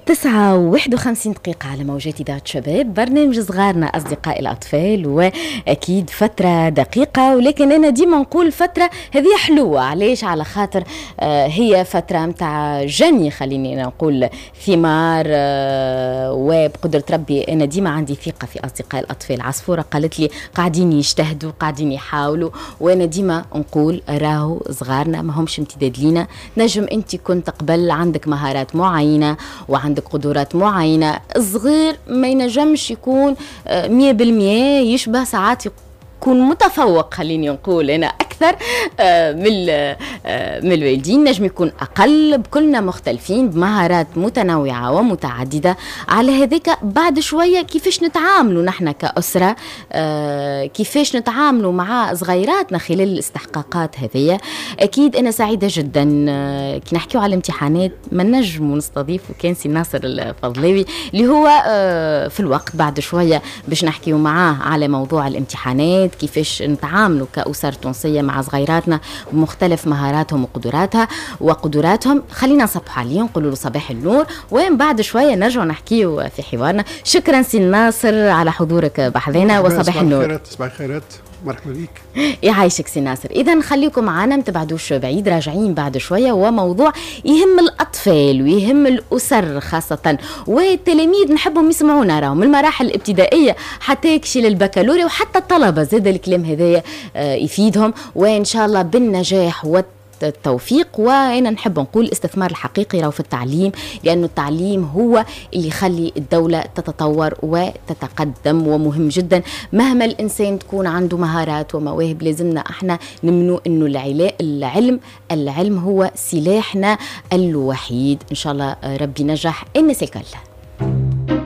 9:51 على موجات إذاعة شباب، برنامج صغارنا أصدقاء الأطفال، وأكيد فترة دقيقة، ولكن أنا ديما نقول فترة هذه حلوة. علاش؟ على خاطر هي فترة متاع جني، خليني نقول ثمار، وبقدرة ربي أنا ديما عندي ثقة في أصدقاء الأطفال. عصفورة قالت لي قاعدين يجتهدوا، قاعدين يحاولوا، وأنا ديما نقول راهو صغارنا ما همش امتداد لينا. نجم أنت كنت قبل عندك مهارات معينة وعندك قدرات معينة، الصغير ما ينجمش يكون 100% يشبه، ساعات يكون متفوق، خليني نقول أنا أكثر من الوالدين، نجم يكون أقل، بكلنا مختلفين بمهارات متنوعة ومتعددة. على هذاك بعد شوية كيفاش نتعاملوا نحن كأسرة، كيفاش نتعاملوا مع صغيراتنا خلال الاستحقاقات هذية. أكيد أنا سعيدة جدا كي نحكيو على الامتحانات ما نجموا نستضيفوا كان سي ناصر الفضلاوي اللي هو في الوقت بعد شوية باش نحكيو معاه على موضوع الامتحانات، كيفاش نتعاملوا كأسر تونسية مع صغيراتنا بمختلف مهاراتهم وقدراتها وقدراتهم. خلينا نصبح عليه نقولوا له صباح النور، ومن بعد شوية نرجع نحكيو في حوارنا. شكرا سي ناصر على حضورك بحذنا وصباح النور. صباح الخيرات، مرحبا بك. يعيشك سي ناصر. اذا خليكم معنا ما تبعدوش بعيد، راجعين بعد شوية وموضوع يهم الاطفال ويهم الاسر خاصة والتلاميذ، نحبهم يسمعونا راهم من المراحل الابتدائية حتى يكشي للبكالوريا وحتى الطلبة، زاد الكلام هذايا يفيدهم، وان شاء الله بالنجاح والتوفيق. وانا نحب نقول الاستثمار الحقيقي راهو في التعليم، لانه التعليم هو اللي يخلي الدولة تتطور وتتقدم، ومهم جدا مهما الانسان تكون عنده مهارات ومواهب لازمنا احنا نمنو انه العلم هو سلاحنا الوحيد. ان شاء الله ربي نجح الناس الكل.